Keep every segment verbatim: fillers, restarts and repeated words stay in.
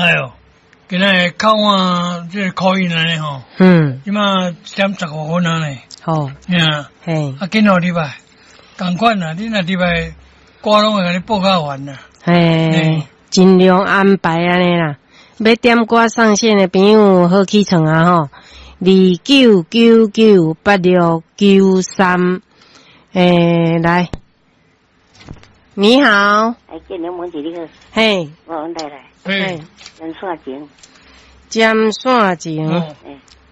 來哦，今仔日靠我這個口音按呢吼，嗯，這馬一點十五分啊呢，好，嗯，嘿，啊，緊予入來，仝款啦，你若入來，歌攏會共你報甲完啦。嘿，盡量安排按呢啦。欲點歌上線的朋友好起床啊吼，二九九九八六九三，欸，來，你好，哎，建良問一你好，嘿，我阮太太，嘿，針線情，針線情，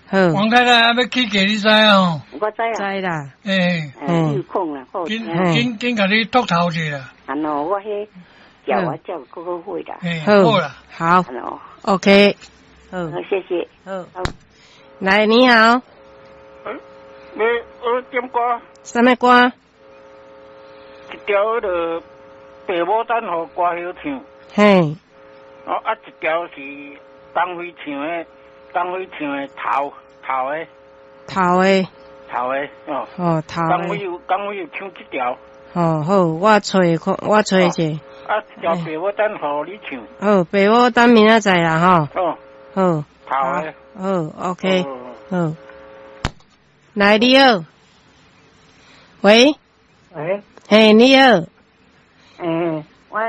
好，王太太還欲起價，你知哦？我知啊，知啦，欸，有空啦，緊緊緊共你托頭者啦。啊喏，我彼叫我叫哥哥會啦，好啦，好，OK，好，謝謝，好，來，你好，你我點歌？啥物歌？一條彼个白牡丹予歌后唱。嘿。哦，啊，一條是東輝唱的，東輝唱的頭頭的。頭的。頭的哦。哦，頭的。東輝有東輝有唱這條。哦，好，我揣看，我揣者。啊，一條白牡丹予你唱。好，白牡丹明仔載啦，吼。哦。好。頭的。好，OK，好。來，你好。喂。喂。嘿，你好。欸，我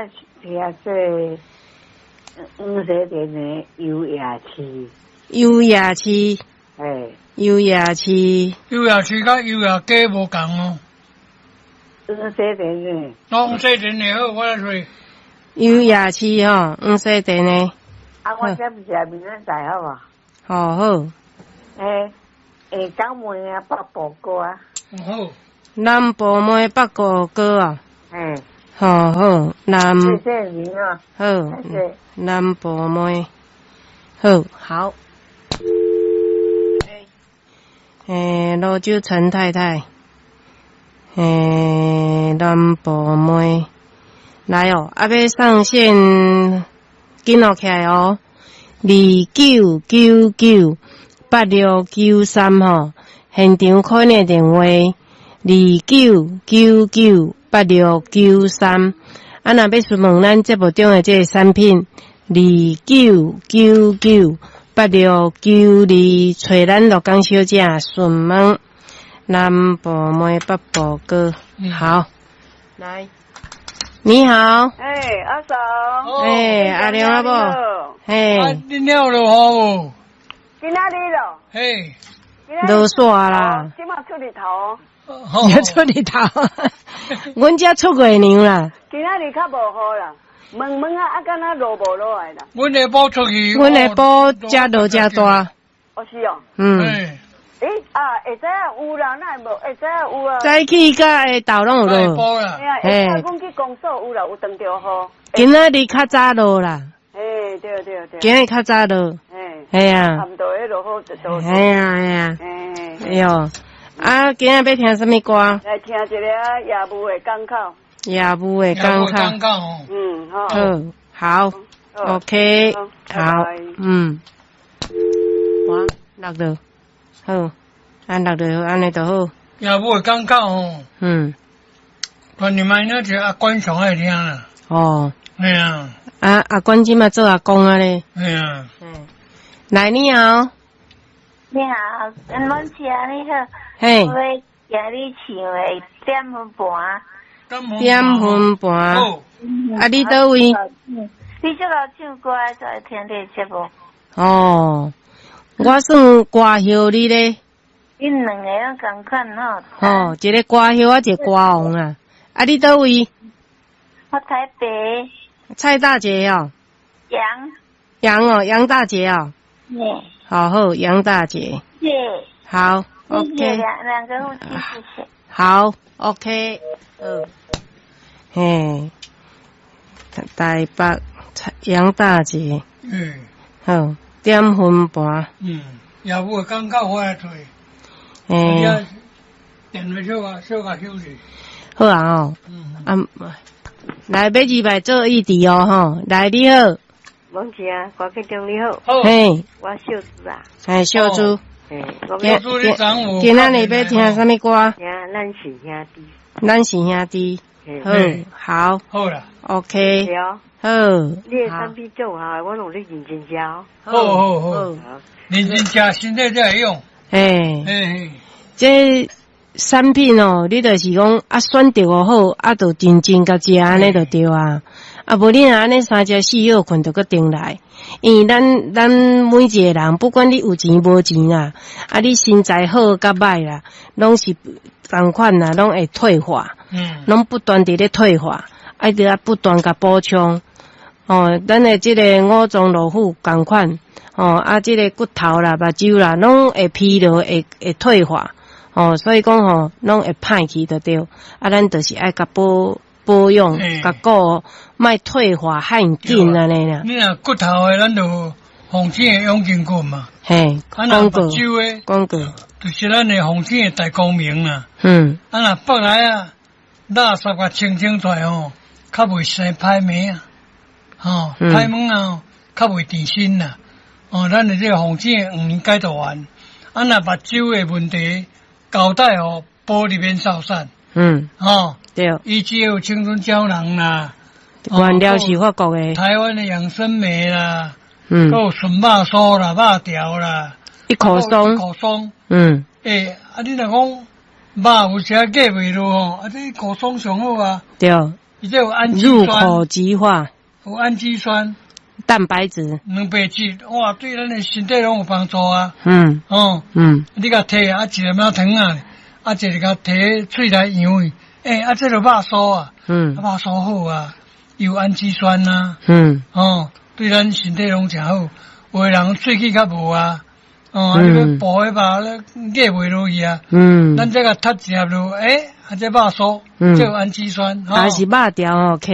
聽這黃西田的優雅市。優雅市。欸。優雅市。優雅市佮優雅街無仝哦。黃西田的。黃西田的好，我來揣。優雅市吼，黃西田的。啊，我這毋是明仔載好無？好好。欸，欸，港妹啊，北部歌啊。好。南部妹北部歌啊。欸。好好，南。謝謝你啊。好。南部妹。好，好。欸，蘆洲陳太太。欸，南部妹。來哦，啊，欲上線，緊錄起來哦。二九九九八六九三吼，現場 call 的電話二九九九八六九三。啊，若欲詢問咱節目中的這個產品，二九九九八六九二，揣咱鹿港小姐詢問。南部妹北部歌，好，來，你好。欸，阿嫂。欸，阿良阿某。嘿。啊，恁了落雨無？今仔日咯。嘿。落雪啦。這馬出日頭。也出日頭。阮遮出月娘啦。今仔日較無雨啦，濛濛啊，啊，敢若落無落來啦。阮下晡出去。阮下晡才落遮大。哦，是哦。嗯。欸啊，會知影有啦，哪會無？會知影有啊。早起佮下晝攏有落。嘿啊，阮去公所有啦，有當著雨。今仔日較早落啦。嘿，對對對。今日較早落。嘿。嘿啊。暗暝彼落雨就落。嘿啊嘿啊。哎喲，啊，今仔欲聽啥物歌？來聽一個業務的港口。業務的港口。嗯，好。好，好，OK，好，嗯。哇，落落，好，按落就好，按呢就好。業務的港口吼。嗯。團你們那是阿關上愛聽啦。哦。嘿啊。啊，阿關這馬做阿公啊咧。嘿啊。嗯。來，你好。你好，阮姐你好。嘿。我欲聽你唱的點分盤。點分盤。啊，你佗位？你這個唱歌就愛聽你節目。哦，我算歌后你咧。恁兩個攏仝款吼。哦，一個歌后啊，一個歌王啊。啊，你佗位？我台北。蔡大姐哦。楊。楊哦，楊大姐哦。嗯。好好，楊大姐。謝。好，OK。兩兩個夫妻，謝謝。好，OK。嗯。嘿，台北楊大姐。嗯。好，點分盤。嗯，業務剛剛回來揣。欸。電話小可小可休息。好啊哦。嗯。啊，來欲入來做議題哦吼，來你好。王姐啊，郭局長你好。嘿。我秀珠啊。嘿，秀珠。嘿，秀珠你昨今仔日欲聽啥物歌？聽咱是兄弟。咱是兄弟。好，好。好啦。 OK。好。好，你的產品足有效的，我攏咧認真食哦。好好好，認真食，身體才會用。嘿，嘿，這產品哦，你就是講啊，選著好，啊，就認真共食按呢就對啊。啊，無你若按呢三食四歇睏就閣重來。因為咱咱每一個人，不管你有錢無錢啦，啊，你身材好佮歹啦，攏是仝款啦，攏會退化，嗯，攏不斷佇咧退化，愛著愛不斷共補充。哦，咱的這個五臟六腑仝款，哦，啊，這個骨頭啦、目睭啦，攏會疲勞，會會退化。哦，所以講吼，攏會歹去就對。啊，咱就是愛共保保養，共顧，莫退化遐緊按呢啦。你若骨頭的，咱就鳳仙的養筋骨嘛。嘿，啊，若目睭的，廣告，就是咱的鳳仙的大光明啦。嗯。啊，若腹內啊，垃圾共清清出來吼，較袂生歹物啊。吼，歹物啊，較袂纏身啦。哦，咱的這個鳳仙的黃連解毒丸，啊，若目睭的問題，膠帶哦，保利免掃散。嗯。吼，對。伊只有青春膠囊啦，原料是法國的。台灣的養生酶啦，嗯，閣有純肉酥啦、肉條啦，一口鬆，一口鬆。嗯。欸，啊，你若講肉有時過袂落吼，啊，這一口鬆上好啊。對。伊這有氨基酸。入口即化。有氨基酸。蛋白質。蛋白質，哇，對咱的身體攏有幫助啊。嗯。哦。嗯。你共提啊，一粒仔糖啊，啊，一個共提喙內溶去，欸，啊，這就肉酥啊。嗯。肉酥好啊，有氨基酸啊。嗯。哦，對咱身體攏誠好。有的人喙齒較無啊，哦，你欲補彼肉，咧咬袂落去啊。嗯。咱這共踢一粒落，欸，啊，這肉酥，嗯，這有氨基酸。還是肉條吼，起。